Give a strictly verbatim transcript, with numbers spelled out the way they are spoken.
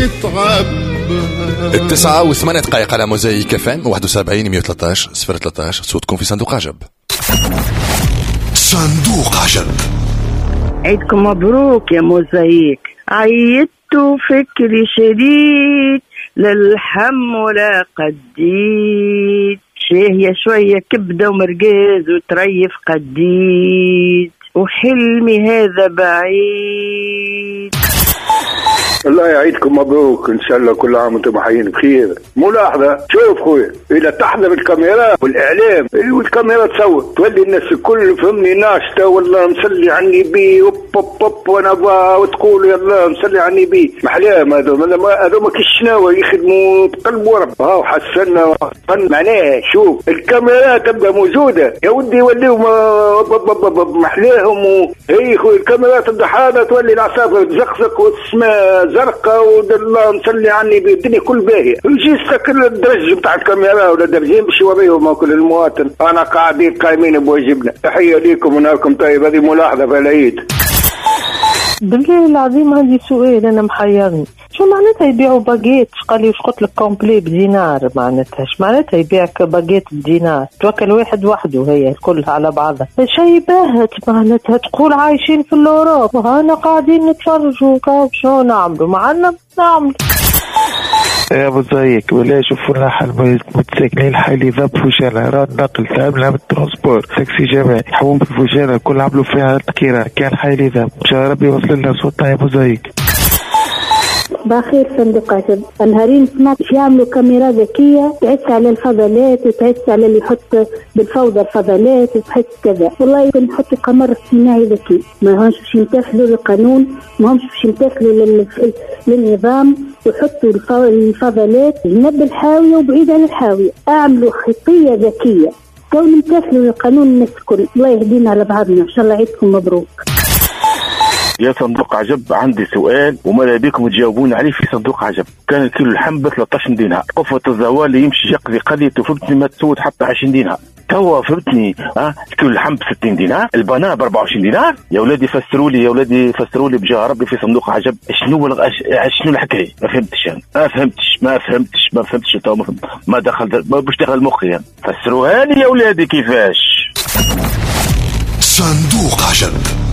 يتعبى. التسعة وثمانية دقائق على موزايك اف ام واحد وسبعين مية وثلاثة عشر صفر ثلاثة عشر، صوتكم في صندوق عجب. صندوق عجب. عيدكم مبروك يا موزايك. عيدت فكري شديد للحم ولا قديد، شاهية شوية كبدة ومرقاز وتريف قديد، وحلمي هذا بعيد. الله يعيدكم مبروك، ان شاء الله كل عام وانتم حيين بخير. ملاحظه، شوف خويا، اذا تحضر الكاميرا والاعلام والكاميرا تصور، تولي الناس الكل فهمني ناشطه، والله نصلي على النبي، اوب اوب اوب، وانا وتقول يلا نصلي على النبي. محلاهم هذوما، هذوما كي يخدموا بقلب ورب. ها وحسنا معناها، شوف الكاميرا تبقى موجودة يا ودي، يوليو محلاهم. هي خويا الكاميرا تبدا حاضره، تولي العصافر تزقزق والسماء زرقاء والله نصلي على النبي، الدنيا كل باهيه. يجي كل الدرج نتاع الكاميرا ولا درجين باش يوريهم كل المواطن انا قاعدين قايمين بواجبنا. تحية ليكم ونهاركم طيب. هذه ملاحظة في العيد. بالله العظيم عندي سؤال انا محيرني، شو معناتها يبيعوا باجيت؟ قال لي قلت لك complet بدينار، معناتها اش معناتها يبيعك باجيت بدينار؟ توكل واحد وحده هي الكل على بعضها، شيء باهت. معناتها تقول عايشين في l'Europe، هانا قاعدين نتفرجوا، شو نعملوا؟ ما عندنا نعمل. يا موزايك، ولا شوفوا لنا حل، متساكنين الحي اللي ذاب فوشانة، راه النقل تعبنا من ال transport، تاكسي جماعي حوم في فوشانة كل عملوا فيها تكيرة، كان حي اللي ذاب. ان شاء ربي يوصل لنا صوتنا يا موزايك. بخير صندوق عجب. النهارين سمعت يعملوا كاميرا ذكية تعس على الفضلات وتعس على اللي يحط بالفوضى الفضلات وتحس كذا. والله يمكن نحطوا قمر اصطناعي ذكي، ما همش باش يمتثلوا للقانون، ما همش باش يمتثلوا للنظام، وحطوا الفضلات جنب الحاوية وبعيد عن الحاوية. اعملوا خطية ذكية كون يمتثلوا للقانون الناس الكل. الله يهدينا على بعضنا. ان شاء الله عيدكم مبروك. يا صندوق عجب، عندي سؤال وماذا بكم تجاوبون عليه في صندوق عجب. كان الكيلو اللحم ب ثلاثة عشر دينار، قفة الزوال يمشي يقضي قضيته فهمتني ما تسود حتى عشرين دينار. توا فهمتني ها الكيلو اللحم ب ستين دينار، البنان ب أربعة وعشرين دينار. يا ولادي فسروا لي، يا ولادي فسروا لي بجاه ربي في صندوق عجب، شنو شنو الحكاية؟ ما فهمتش يعني. ما فهمتش ما فهمتش ما فهمتش تو ما, ما دخل ما باش دخل مخي يعني. فسروها لي يا ولادي كيفاش. صندوق عجب.